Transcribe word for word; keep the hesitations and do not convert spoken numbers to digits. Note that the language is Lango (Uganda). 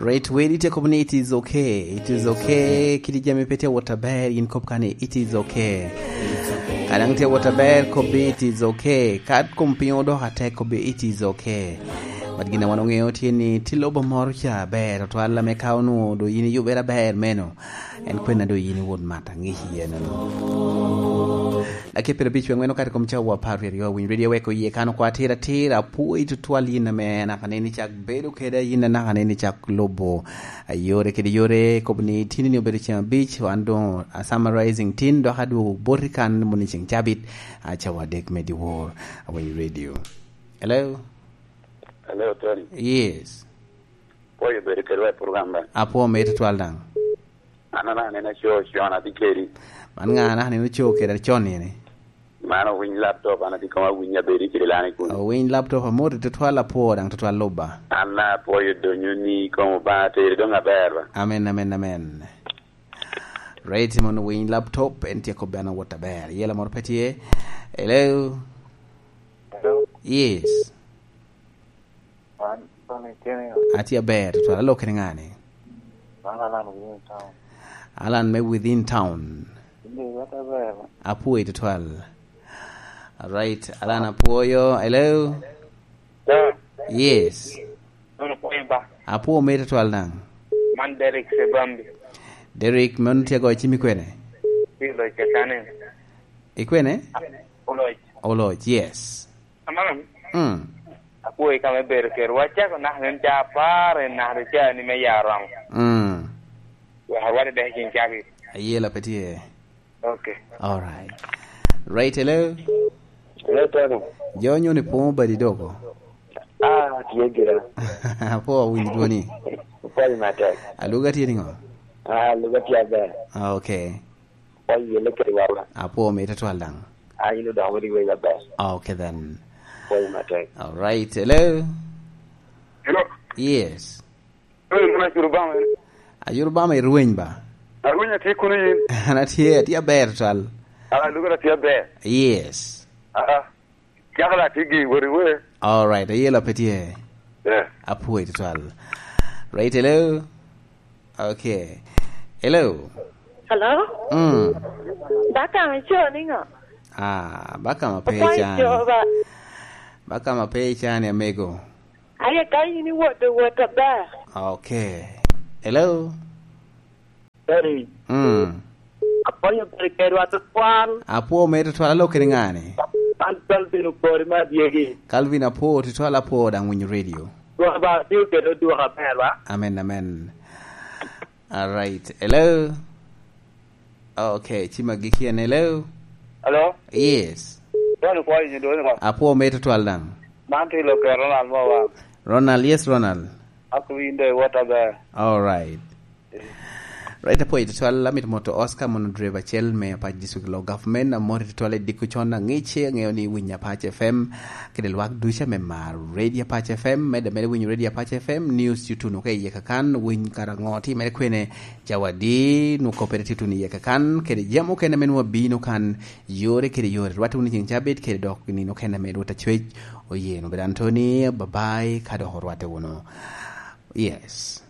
Right, weri tye kobo ni it is okay, it is okay. Kit jami pe tye wot aber, yin kop kani it is okay. Ka daŋ tye wot aber, kop bi it is okay. Ka kom piny odoko atek, kop bi it is okay. But gin a wan oŋeo tye ni tye lobo moro ca aber, otwal ame ka onwoŋo do yin iyubere aber meno, en kwena do yin iwot mat aŋic iye nono. Dakika pyerabic wek ŋwen okato i kom cawa apar wie aryo, winy redio wek oye kan okwa atira atira, apwoyi tutwal yin ame anaka neni cak bedo kede, yin anaka neni cak lubo, a, yore kede yore, kobo ni tini ni obedo ceng abic, wan doŋ a summarizing tin, dok adwogo boti kan moni ceng cabit, a, cawa adek me dyewor, a, winy redio. Hello? Hello, Tony. Yes. Pwoyo bedo kedwa i program ba. Apwo me tutwal daŋ. An anaka neni aco con atye kedi. Man ŋa anaka neni oco kede acon nini? Man owiny laptop, an atye kong awiny abedi kede lani kuno. Owiny laptop amoti tutwal apwo daŋ tutwal lubba. An apwoyo donyo ni kong Obaŋa teri doŋ aber ba. Amen, amen, amen. Right, mon owiny laptop, en tye kobbe an awot aber. Yela moro pe tye. Hello? Hello? Yes. An, Tony, itye niŋo? Atye aber, tutwal. Alo kene ŋa ni? An Alan within town. Alan me within town. Inde, wat aber. Apwoyi tutwal. Alright, Alan apwoyo. Hello? Sir. Yes. Nono pwoyo ba. Apwo me tutwal daŋ. Man Derek Sebambi. Derek, mano tye goyo cim i kwene? Pi loc ka sani. I kwene? Oloc. Oloc, yes. Aman. Mm. Apwoyo ka me bedo kede. Wacako naka en ca apar, en naka ca ni me ya romo. Mm. Wek arwate dek i cin cabit. Ayela pe tye. Okay. All right. Right, hello? Hello, Tony. Jo nyoni pwoŋo badi doko? Ah, tye gira. Apwo awinyo dwoni. Pwoyo matek. Aluga tye niŋo? Ah, aluga tye aber. Ah, okay. Pwoyo yelle kede wawa. Apwo me tutwal daŋ. Ah, in odoko wodi wei aber. Ah, okay then. Pwoyo matek. All right. Hello? Hello? Yes. Hey, muna Jurubama. Ajurubama irweny ba? Arweny atye kuno yin. An atye, atye aber twal. Ah, lugara tye aber. Yes. Ah, cakala atye gi wori we. All right, ayela pe tye. Yeah. Apwoyo twal. Right, hello? Okay. Hello? Hello? Mm. Bakama ico niŋo? Ah, bakama pe Apwoyo ican. Coba. Bakama pe ican, amego. Aye ka in iwoto wot aber. Okay. Hello? Hey. Mm. Apwoyo bedo kedwa tutwal. Apwo me tutwal, alo kede ŋani? An Calvin Okori me Adyegi. Calvin apwo tutwal, apwo daŋ winyo radio. Dwoko ba tio kede odwoko aber ba? Amen, amen. All right. Hello? Okay, cima giki en. Hello? Hello? Yes. Dwoko ni kwa inyo dwoko ni kwa. Apwo me tutwal daŋ. Man tye Lokero Ronald mo wa. Ronald, yes, Ronald. Ako winde wot aber. All right. Right, apwoyo tutwal, amito moto Oscar mono driver acel me Apac District Law Government, amoti tutwal i diko con aŋic, aŋeo ni winyo Apac F M, kede lwak duca me mar Radio Apac F M, medde medde winyo Radio Apac F M, news tutuno ka iye kakan, winy kara ŋo timere kwene, cawa di, nwo kopere tutuno iye kakan, kede jam okene me nwo bino kan, yore kede yore, rwate wunu ceng cabit, kede dok nino okene me Rwot Acwec, oye nwo bedo Anthony, bye bye, ka dok orwate wunu. Yes.